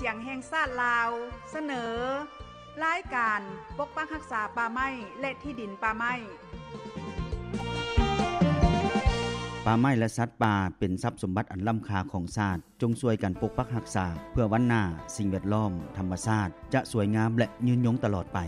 ສຽງແຫ່ງຊາດລາວ ສະເໜີ ລາຍການປົກປັກຮັກສາປ່າໄມ້ ແລະ ທີ່ດິນປ່າໄມ້. ປ່າໄມ້ ແລະ ສັດປ່າ ເປັນຊັບສົມບັດອັນລ້ຳຄ່າຂອງຊາດ. ຈົ່ງຊ່ວຍກັນປົກປັກຮັກສາ ເພື່ອວັນໜ້າ ສິ່ງແວດລ້ອມ ທຳມະຊາດ ຈະສວຍງາມ ແລະ ຍືນຍົງຕະຫຼອດໄປ.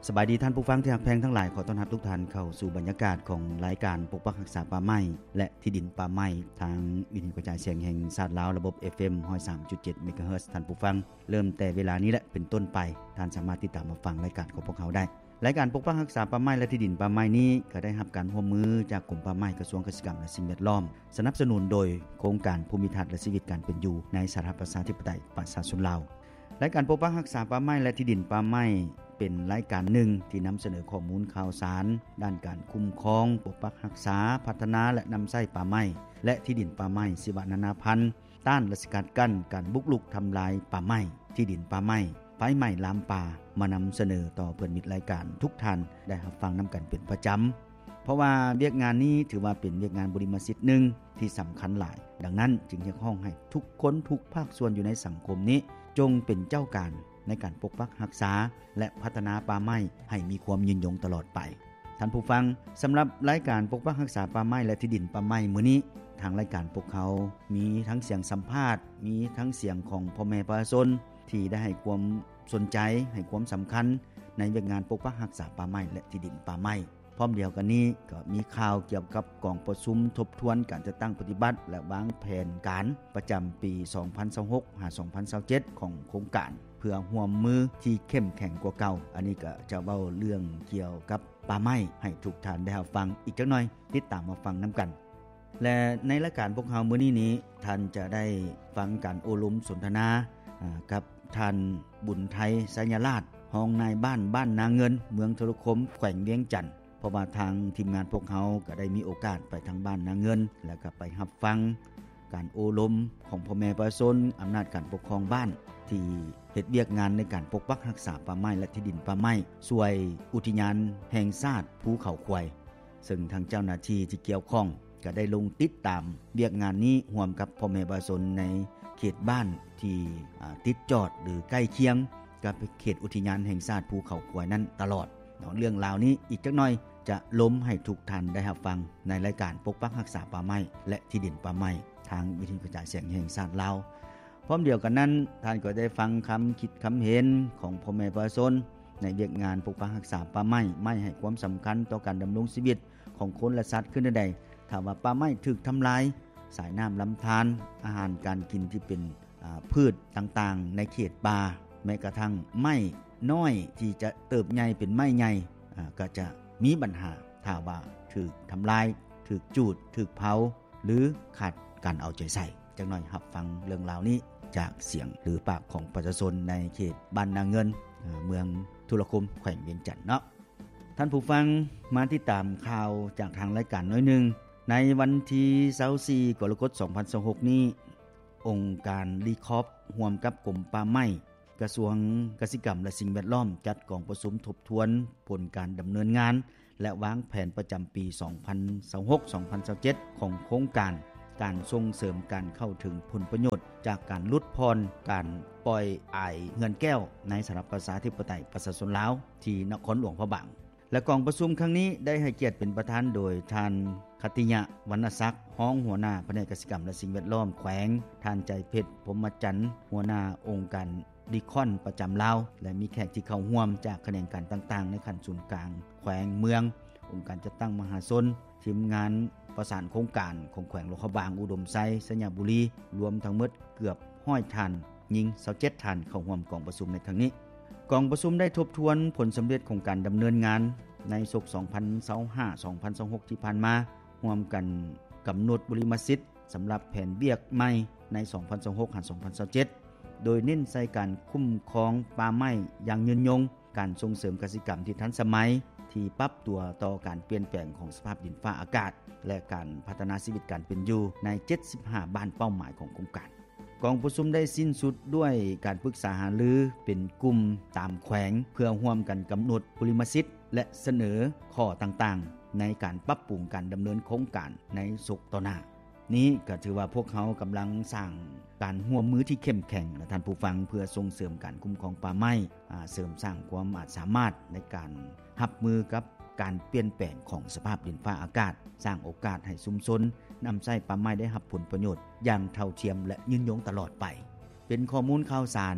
ສະບາຍດີທ່ານຜູ້ຟັງທີ່ຮັກແພງທັງຫຼາຍ, ຂໍຕ້ອນຮັບທຸກທ່ານເຂົ້າສູ່ບັນຍາກາດຂອງລາຍການປົກປັກຮັກສາປ່າໄມ້ ແລະ ທີ່ດິນປ່າໄມ້ ທາງວິທະຍຸກະຈາຍສຽງແຫ່ງຊາດລາວ ລະບົບ ເອັຟເອັມ ຮ້ອຍສາມຈຸດເຈັດ ເມກາເຮີດ. ທ່ານຜູ້ຟັງ, ເລີ່ມແຕ່ເວລານີ້ແຫຼະເປັນຕົ້ນໄປ, ທ່ານສາມາດຕິດຕາມຮັບຟັງລາຍການຂອງພວກເຮົາໄດ້. ລາຍການປົກປັກຮັກສາປ່າໄມ້ ແລະ ທີ່ດິນປ່າໄມ້ນີ້ ກໍໄດ້ຮັບການຮ່ວມມືຈາກກົມປ່າໄມ້ ກະຊວງກະສິກຳ ແລະ ສິ່ງແວດລ້ອມ, ສະໜັບສະໜູນໂດຍໂຄງການພູມິທັດ ແລະ ຊີວິດການເປັນຢູ່ ໃນສາທາລະນະລັດ ປະຊາທິປະໄຕ ປະຊາຊົນລາວ. ລາຍການປົກປັກຮັກສາປ່າໄມ້ ແລະ ທີ່ດິນປ່າໄມ້ ເປັນລາຍການໜຶ່ງທີ່ນຳສະເໜີຂໍ້ມູນຂ່າວສານ ດ້ານການຄຸ້ມຄອງ, ປົກປັກຮັກສາ, ພັດທະນາ ແລະ ນຳໃຊ້ປ່າໄມ້ ແລະ ທີ່ດິນປ່າໄມ້ ຊີວະນານາພັນ, ຕ້ານ ແລະ ສະກັດກັ້ນການບຸກລຸກທຳລາຍປ່າໄມ້, ທີ່ດິນປ່າໄມ້, ໄຟໄໝ້ລາມປ່າ ມານຳສະເໜີຕໍ່ເພື່ອນມິດລາຍການທຸກທ່ານໄດ້ຮັບຟັງນຳກັນເປັນປະຈຳ. ເພາະວ່າວຽກງານນີ້ຖືວ່າເປັນວຽກງານບຸລິມະສິດໜຶ່ງທີ່ສຳຄັນຫຼາຍ. ດັ່ງນັ້ນຈຶ່ງຮຽກຮ້ອງໃຫ້ທຸກຄົນທຸກພາກສ່ວນຢູ່ໃນສັງຄົມນີ້ ຈົ່ງເປັນເຈົ້າການໃນການປົກປັກຮັກສາ ແລະ ພັດທະນາປ່າໄມ້ໃຫ້ມີຄວາມຍືນຍົງຕະຫຼອດໄປ. ທ່ານຜູ້ຟັງ, ສຳລັບລາຍການປົກປັກຮັກສາປ່າໄມ້ ແລະ ທີ່ດິນປ່າໄມ້ມື້ນີ້, ທາງລາຍການພວກເຮົາມີທັງສຽງສຳພາດ, ມີທັງສຽງຂອງພໍ່ແມ່ປະຊາຊົນທີ່ໄດ້ໃຫ້ຄວາມສົນໃຈ, ໃຫ້ຄວາມສຳຄັນໃນວຽກງານປົກປັກຮັກສາປ່າໄມ້ ແລະ ທີ່ດິນປ່າໄມ້. ພ້ອມດຽວກັນນີ້ກໍມີຂ່າວກ່ຽວກັບກອງປະຊຸມທົບທວນການຈັດຕັ້ງປະຕິບັດ ແລະ ວາງແຜນການປະຈຳປີສອງພັນຊາວຫົກ ຫາ ສອງພັນຊາວເຈັດ ຂອງໂຄງການ ເພື່ອຮ່ວມມືທີ່ເຂັ້ມແຂງກວ່າເກົ່າ. ອັນນີ້ກໍຈະເວົ້າເລື່ອງກ່ຽວກັບປ່າໄມ້ໃຫ້ທຸກທ່ານໄດ້ຮັບຟັງ. ອີກຈັກໜ່ອຍ ຕິດຕາມມາຟັງນຳກັນ. ແລະ ໃນລາຍການພວກເຮົາມື້ນີ້ນີ້ ທ່ານຈະໄດ້ຟັງການໂອ້ລົມສົນທະນາ ອາ ກັບທ່ານ ບຸນໄທ ໄຊຍະລາດ ຮອງນາຍບ້ານບ້ານນາເງິນ ເມືອງໂທລະຄົມ ແຂວງວຽງຈັນ. ເພາະວ່າທາງທີມງານພວກເຮົາກໍໄດ້ມີໂອກາດໄປທາງບ້ານນາເງິນ ແລ້ວກໍໄປຮັບຟັງການໂອ້ລົມຂອງພໍ່ແມ່ປະຊາຊົນ, ອຳນາດການປົກຄອງບ້ານ ທີ່ເຮັດວຽກງານໃນການປົກປັກຮັກສາປ່າໄມ້ ແລະ ທີ່ດິນປ່າໄມ້ ສ່ວຍອຸທິຍານແຫ່ງຊາດພູເຂົາຄວາຍ. ເຊິ່ງທາງເຈົ້າໜ້າທີ່ທີ່ກ່ຽວຂ້ອງກໍໄດ້ລົງຕິດຕາມວຽກງານນີ້ຮ່ວມກັບພໍ່ແມ່ປະຊາຊົນໃນເຂດບ້ານທີ່ ອາ ຕິດຈອດ ຫຼື ໃກ້ຄຽງກັບເຂດອຸທິຍານແຫ່ງຊາດພູເຂົາຄວາຍນັ້ນຕະຫຼອດເນາະ. ເລື່ອງລາວນີ້ອີກຈັກໜ່ອຍຈະລົມໃຫ້ທຸກທ່ານໄດ້ຮັບຟັງໃນລາຍການປົກປັກຮັກສາປ່າໄມ້ ແລະ ທີ່ດິນປ່າໄມ້ ທາງວິທະຍຸກະຈາຍສຽງແຫ່ງຊາດລາວ. ພ້ອມດຽວກັນນັ້ນ, ທ່ານກໍໄດ້ຟັງຄຳຄິດຄຳເຫັນຂອງພໍ່ແມ່ປະຊາຊົນ ໃນວຽກງານປົກປັກຮັກສາປ່າໄມ້ ໄມ້ໃຫ້ຄວາມສຳຄັນຕໍ່ການດຳລົງຊີວິດຂອງຄົນ ແລະ ສັດຄືແນວໃດ. ຖ້າວ່າປ່າໄມ້ຖືກທຳລາຍ, ສາຍນ້ຳລຳທານ, ອາຫານການກິນທີ່ເປັນ ອາ ພືດຕ່າງໆໃນເຂດປ່າ, ແມ້ກະທັ່ງໄມ້ນ້ອຍທີ່ຈະເຕີບໃຫຍ່ເປັນໄມ້ໃຫຍ່ ອາ ກໍຈະມີບັນຫາ ຖ້າວ່າຖືກທຳລາຍ, ຖືກຈູດ, ຖືກເຜົາ ຫຼື ຂາດການເອົາໃຈໃສ່. ຈັກໜ່ອຍຮັບຟັງເລື່ອງລາວນີ້ຈາກສຽງ ຫຼື ປາກຂອງປະຊາຊົນໃນເຂດບ້ານນາເງິນ, ເອີ ເມືອງທຸລະຄົມ ແຂວງວຽງຈັນເນາະ. ທ່ານຜູ້ຟັງ, ມາຕິດຕາມຂ່າວຈາກທາງລາຍການໜ້ອຍໜຶ່ງ. ໃນວັນທີຊາວສີ່ ກໍລະກົດ ສອງພັນຊາວຫົກນີ້, ອົງການ RECOP ຮ່ວມກັບກົມປ່າໄມ້, ກະຊວງກະສິກຳ ແລະ ສິ່ງແວດລ້ອມ ຈັດກອງປະຊຸມທົບທວນຜົນການດຳເນີນງານ ແລະ ວາງແຜນປະຈຳປີສອງພັນຊາວຫົກ ສອງພັນຊາວເຈັດ ຂອງໂຄງການ ການສົ່ງເສີມການເຂົ້າເຖິງຜົນປະໂຫຍດຈາກການຫຼຸດຜ່ອນການປ່ອຍອາຍເຮືອນແກ້ວ ໃນສະຫະລັດປະຊາທິປະໄຕປະຊາຊົນລາວ ທີ່ນະຄອນຫຼວງພະບາງ. ແລະ ກອງປະຊຸມຄັ້ງນີ້ໄດ້ໃຫ້ກຽດເປັນປະທານໂດຍທ່ານ ຂັດຕິຍະ ວັນນະສັກ ຮອງຫົວໜ້າພະແນກກະສິກຳ ແລະ ສິ່ງແວດລ້ອມແຂວງ, ທ່ານ ໃຈເພັດ ພົມມະຈັນ ຫົວໜ້າອົງການ RECOP ປະຈຳລາວ ແລະ ມີແຂກທີ່ເຂົ້າຮ່ວມຈາກຂະແໜງການຕ່າງໆ ໃນຂັ້ນສູນກາງ, ແຂວງ, ເມືອງ, ອົງການຈັດຕັ້ງມະຫາຊົນ, ທີມງານປະສານໂຄງການຂອງແຂວງຫຼວງພະບາງ, ອຸດົມໄຊ, ໄຊຍະບູລີ, ລວມທັງໝົດເກືອບຮ້ອຍທ່ານ, ຍິງຊາວເຈັດທ່ານເຂົ້າຮ່ວມກອງປະຊຸມໃນຄັ້ງນີ້. ກອງປະຊຸມໄດ້ທົບທວນຜົນສຳເລັດຂອງການດຳເນີນງານໃນສົກສອງພັນຊາວຫ້າ ສອງພັນຊາວຫົກທີ່ຜ່ານມາ, ຮ່ວມກັນກຳນົດບຸລິມະສິດສຳລັບແຜນວຽກໃໝ່ໃນສອງພັນຊາວຫົກ ຫາ ສອງພັນຊາວເຈັດ ໂດຍເນັ້ນໃສ່ການຄຸ້ມຄອງປ່າໄມ້ຢ່າງຍືນຍົງ, ການສົ່ງເສີມກະສິກຳທີ່ທັນສະໄໝ ທີ່ປັບຕົວຕໍ່ການປ່ຽນແປງຂອງສະພາບດິນຟ້າອາກາດ ແລະ ການພັດທະນາຊີວິດການເປັນຢູ່ໃນເຈັດສິບຫ້າບ້ານເປົ້າໝາຍຂອງໂຄງການ. ກອງປະຊຸມໄດ້ສິ້ນສຸດດ້ວຍການປຶກສາຫາລືເປັນກຸ່ມຕາມແຂວງ ເພື່ອຮ່ວມກັນກຳນົດບຸລິມະສິດ ແລະ ສະເໜີຂໍ້ຕ່າງໆໃນການປັບປຸງການດຳເນີນໂຄງການໃນສົກຕໍ່ໜ້າ. ນີ້ກໍຖືວ່າພວກເຮົາກຳລັງສ້າງການຮ່ວມມືທີ່ເຂັ້ມແຂງ ແລະ ທ່ານຜູ້ຟັງ ເພື່ອສົ່ງເສີມການຄຸ້ມຄອງປ່າໄມ້, ອາ, ເສີມສ້າງຄວາມອາດສາມາດໃນການຮັບມືກັບການປ່ຽນແປງຂອງສະພາບດິນຟ້າອາກາດ, ສ້າງໂອກາດໃຫ້ຊຸມຊົນນຳໃຊ້ປ່າໄມ້ໄດ້ຮັບຜົນປະໂຫຍດຢ່າງເທົ່າທຽມ ແລະ ຍືນຍົງຕະຫຼອດໄປ. ເປັນຂໍ້ມູນຂ່າວສານ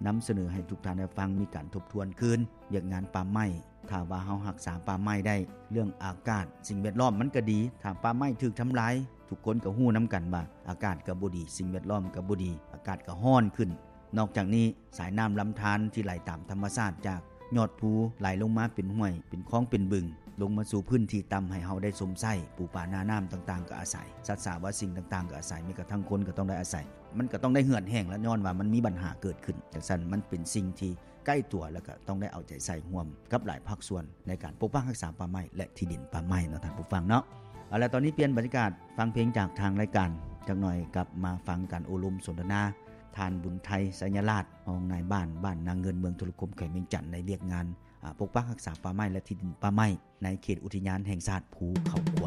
ນຳສະເໜີໃຫ້ທຸກທ່ານໄດ້ຟັງ, ມີການທົບທວນຄືນວຽກງານປ່າໄມ້. ຖ້າວ່າເຮົາຮັກສາປ່າໄມ້ໄດ້, ເລື່ອງອາກາດ, ສິ່ງແວດລ້ອມມັນກໍດີ. ຖ້າປ່າໄມ້ຖືກທຳລາຍ, ທຸກຄົນກໍຮູ້ນຳກັນວ່າອາກາດກໍບໍ່ດີ, ສິ່ງແວດລ້ອມກໍບໍ່ດີ, ອາກາດກໍຮ້ອນຂຶ້ນ. ນອກຈາກນີ້, ສາຍນ້ຳລຳທານທີ່ໄຫຼຕາມທຳມະຊາດຈາກຍອດພູ ໄຫຼລົງມາເປັນຫ້ວຍ, ເປັນຄອງ, ເປັນບຶງ, ລົງມາສູ່ພື້ນທີ່ຕ່ຳໃຫ້ເຮົາໄດ້ຊົມໃຊ້, ປູປານານ້ຳຕ່າງໆກໍອາໄສ, ສັດສາວາສິ່ງຕ່າງໆກໍອາໄສ, ແມ້ກະທັ່ງຄົນກໍຕ້ອງໄດ້ອາໄສ. ມັນກໍຕ້ອງໄດ້ເຫືອດແຫ້ງລະ ຍ້ອນວ່າມັນມີບັນຫາເກີດຂຶ້ນ. ຈັ່ງຊັ້ນ, ມັນເປັນສິ່ງທີ່ໃກ້ຕົວ ແລະ ກໍຕ້ອງໄດ້ເອົາໃຈໃສ່ຮ່ວມກັບຫຼາຍພາກສ່ວນໃນການປົກປັກຮັກສາປ່າໄມ້ ແລະ ທີ່ດິນປ່າໄມ້ເນາະ ທ່ານຜູ້ຟັງເນາະ. ເອົາລະ ຕອນນີ້ປ່ຽນບັນຍາກາດ ຟັງເພງຈາກທາງລາຍການ, ຈັກໜ່ອຍກັບມາຟັງການໂອ້ລົມສົນທະນາ ທ່ານ ບຸນໄທ ໄຊຍະລາດ ຮອງນາຍບ້ານ ບ້ານນາເງິນ ເມືອງທຸລະຄົມ ແຂວງວຽງຈັນ ໃນວຽກງານ ອາ, ປົກປັກຮັກສາປ່າໄມ້ ແລະ ທີ່ດິນປ່າໄມ້ ໃນເຂດອຸທິຍານແຫ່ງຊາດພູເຂົາຄວາຍ.